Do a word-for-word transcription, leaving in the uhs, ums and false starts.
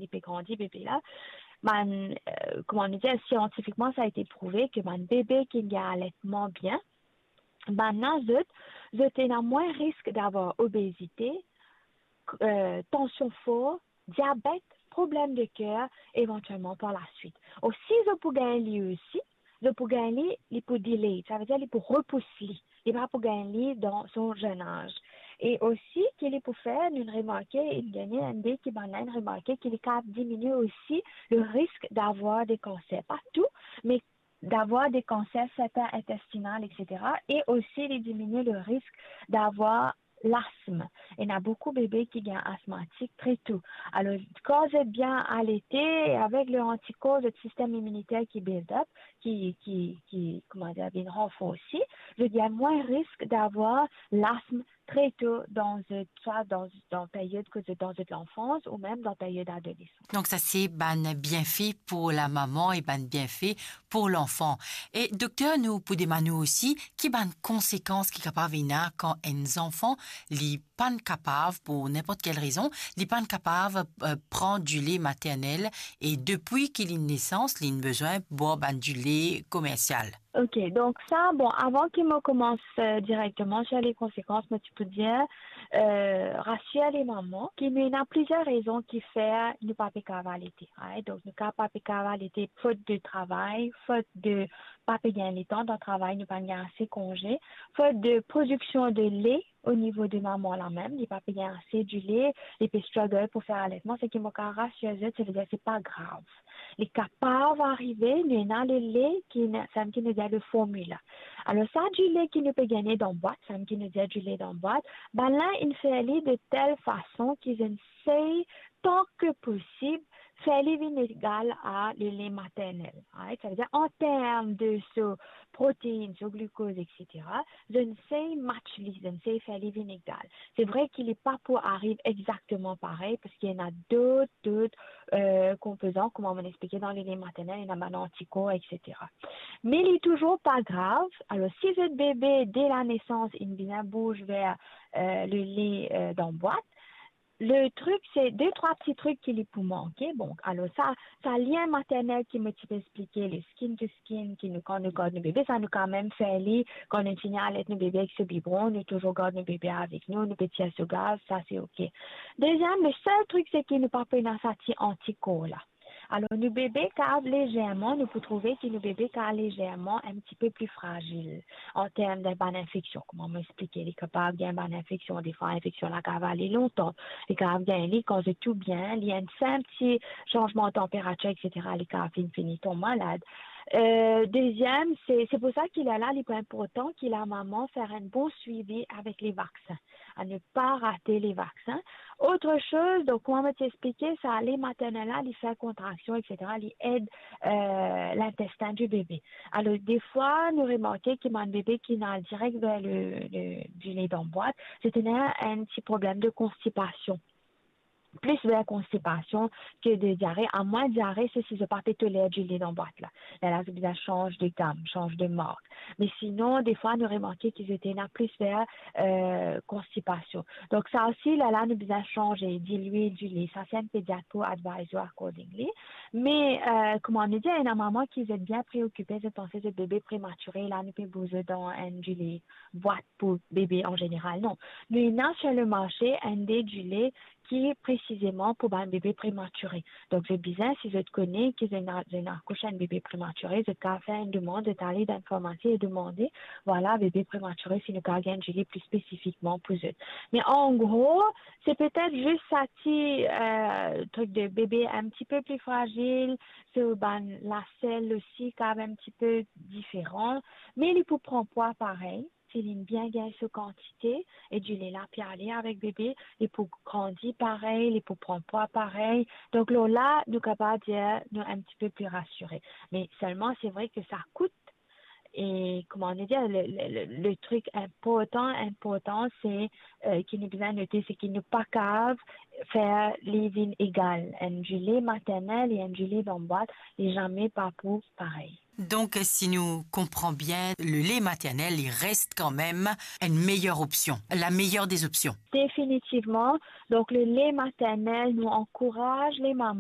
li pe grandi, bebe la. Bann, euh, kouma nou dir, siantifikman, sa été prouve ke bann bebe ki gagn alertman bien, bann la, zot, zot ena mwin risk d'avoir obezite, euh, tansion for, diabet, problem de ker, evantielman par laswit. Or, si zot pou gagn li osi, zot pou gagn li, li pou delay, sa ve dir li pou repous li. Li pa pou gagn li dan son zenn az. E osi, ki li pou fer, nou remarke, inn gagn enn de ki bann la, inn remarke ki li kapav diminie osi le risk d'avoir de kanser. Pa tou, me d'avoir de kanser sertin intestinal, et cetera. E osi, li diminie le risk d'avoir lasm. Ena boukou bebe ki gagn asmatik tre tou. Alor, kan zot bien alete, avek le antikor, zot sistem iminiter ki build up, ki, ki, ki, kouma dir, vinn ranforsi, zot gagn mwin risk d'avoir lasm tre tou dan zot, swa dan, dan peryod kot zot dan zot lanfans ou mem dan peryod adolesans. Donk sa se bann bienfe pou lamama e bann bienfe pou lanfan. E dokter, nou pou demann ou osi, ki bann konsekans ki kapav ena kan enn zanfan, li pann kapav, pou ninport kel rezon, li pann kapav, euh, pran dile maternel, e depi ki li nesans, li inn bizin bwar bann dile komersial? Ok, donk sa, bon, avan ki mo koumans, euh, direkteman sir le konsekans, mo ti pou dir, euh, rasir le mama, ki nou ena plizier rezon ki fer nou pa pe kapav alete, right? Donk, nou ka pa pe kapav alete fot de travay, fot de pa pe gagn letan dan travay, nou pa gagn ase konze, fot de prodiksion de le, o nivo de mama la mem, li pa pe gagn ase dile, li pe struggle pou fer alertman, seki mo kapav rasir zot, se vedir se pa grav. Li kapav arive, nou ena le le ki ena, seki nou dir le formila. Alor, sa dile ki nou pe gagne dan bwat, seki nou dir dile dan bwat, bann la inn fer li de tel fason ki zot inn sey, tan ke posib, fer li vinn egal a le le maternel, right? Sa ve dir, an term de so protein, so glikoz, et cetera, zot inn sey match li, zot inn sey fer li vinn egal. Se vre ki li pa pou ariv exakteman parey, parski ena dot, dot, euh, konpozan, kouma mo explike dan le le maternel, ena bann antikor, et cetera. Me li touzour pa grav. Alor, si zot bebe, de la nesans, inn bizin bouz ver, euh, le le, euh, dan bwat, le trik, se de trwa pti trik ki li pou manke. Bon, alor sa, sa lien maternel ki mo ti pe explike, le skin to skin, ki nou, kan nou gard nou bebe, sa nou kanmem fer li, kan nou fini alet nou bebe avek so bibron, nou touzour gard nou bebe avek nou, nou pe tir so gaz, sa se ok. Deziem, le sel trik, seki nou pa pou ena sa ti antikor la. Alor, nou bebe kapav lezerman, nou pou trouve ki nou bebe kapav lezerman enn tipe pli frazil an term de bann infeksion. Kouma mo explike, li kapav gagn bann infeksion, defwa infeksion la kapav ale lontan, li kapav gagn li kan zot tou bien, li enn sinp ti sanzman tanperatir, et cetera, li kapav finn fini tonm malad. Euh, deziem, se, se pou sa ki lerla li pou inportan ki lamama fer enn bon swivi avek le vaksin. A ne pa rate le vaksin. Autre chose, donk, kouma mo ti explike, sa le maternel la, li fer kontraksion, et cetera, li ed, euh, lintestin di bebe. Alor, defwa, nou remarke ki bann bebe ki inn al direk ver le, le, dile dan bwat, se ena enn ti problem de konstipasion. Plis ver konstipasion ke de diare. Amwin diare, se si zot pa pe toler dile dan bwat la. Lerla zot bizin sanz de gam, sanz de mark. Me sinon, defwa, nou remarke ki zot ena plis ver, euh, konstipasion. Donk, sa osi, lerla nou bizin sanze, dilwe dile. Sa, se enn pediat pou advise you accordingly. Me, euh, kouma nou dir, ena mama ki zot bien preokipe, zot panse zot bebe prematire, la nou pe bouz dan enn dile bwat pou bebe an zeneral. Non. Nou ena sir le marse enn de dile ki presizeman pou bann bebe prematire. Donk, zot bizin, si zot kone ki zot ena, zot ena akouch enn bebe prematire, zot kapav fer enn demann, zot ale dan farmasi e demande, vwala, bebe prematire, si nou kapav gagn dile pli spesifikman pou zot. Me an gro, se petet zis sa ti, euh, trik de bebe enn tipe pli frazil, so bann lasel osi kapav enn tipe diferan, me li pou pran pwa parey. Si li bien gagn so kantite, e dile la pe ale avek bebe, li pou grandi parey, li pou pran pwa parey. Donk, lor la, nou kapav dir nou enn tipe pli rasire. Me selman, se vre ke sa kout, e, kouma nou dir, le, le, le, le trik inportan, inportan, se, euh, ki nou bizin note, se ki nou pa kapav fer li vinn egal. Enn dile maternel e enn dile dan bwat, li zame pa pou parey. Donk, si nou konpran bien, le le maternel, li res kanmem enn meyer opsion, la meilleure des options. Definitivman. Donk, le le maternel, nou ankouraz lamama